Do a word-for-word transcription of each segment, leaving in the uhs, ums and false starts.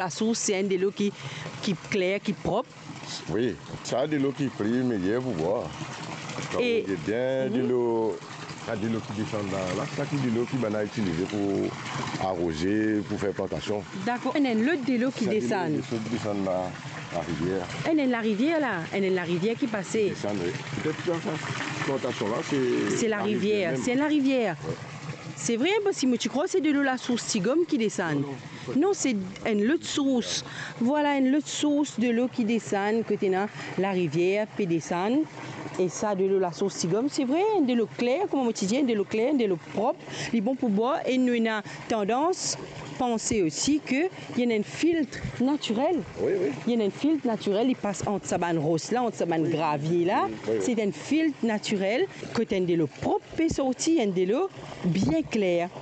Lasours, se enn delo ki, ki kler, ki prop. Wi, sa delo ki pli meyer pou bwar. Kan ou get bien delo, sa delo ki desann la, la, sa ki delo ki bann la itilize pou aroze, pou fer plantasion. Dakor. Enn, enn lot delo ki desann. Sa delo ki desann la, larivier. Enn, enn larivier la, enn, enn larivier ki pase. Desann, wi. Petet sa, sa plantasion la, se... Se larivier, se enn larivier. Wi. Se vre, parski mo ti krwar se delo lasours Tigom ki desann. Non, non. Non, se enn lot sours. Vwala, enn lot sours delo ki desann, kot ena larivier pe desann. E sa delo lasours Tigom, se vre, enn delo kler, kouma mo ti dir, enn delo kler, enn delo prop, li bon pou bwar. E nou ena tandans panse osi ke li ena enn filt natirel. Wi, wi. Li ena enn filt natirel, li pas ant sa bann ros la, ant sa bann gravier la. Wi, wi. Se enn filt natirel, kot enn delo prop pe sorti, enn delo bien kler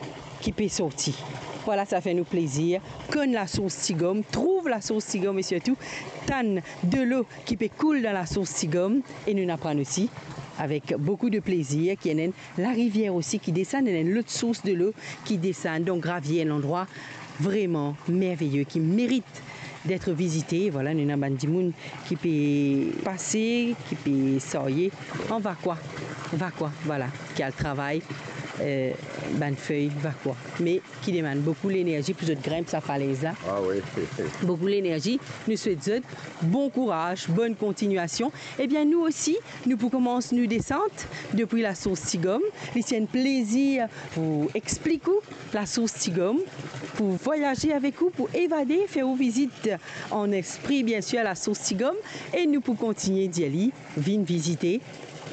ki pe sorti. Vwala, sa fer nou plezir konn lasours Tigom, trouv lasours Tigom e sirtou tann delo ki pe koul dan lasours Tigom. E nou aprann osi avek boukou de plezir ki ena enn larivier osi ki desann, ena enn lot sours delo ki desann. Donk, Gravier, enn landrwa vreman merveye ki merit d'être visité. Vwala, nou ena bann dimoun ki pe pase, ki pe sarye an vakwa, vakwa, vwala, ki al travay, eh, bann fey vakwa, me ki demann boukou lenerzi pou zot grinp sa falez la. Ah wi. Boukou lenerzi. Nou swet zot bon kouraz, bonn kontignasion. Ebien, nou osi, nou pou koumans nou desant depi lasours Tigom. Li ti enn plezir pou explik ou lasours Tigom, pou vwayaze avek ou, pou evade, fer ou vizit an lespri, biensir, lasours Tigom, e nou pou kontigne dir li, vinn vizite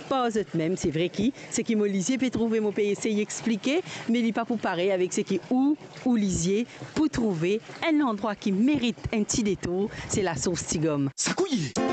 par zot mem. Se vre ki seki mo lizie pe trouve, mo pe esey explike, me li pa pou parey avek seki ou, ou lizie pou trouve. Enn landrwa ki merit enn ti detour, se lasours Tigom. Sa kouye!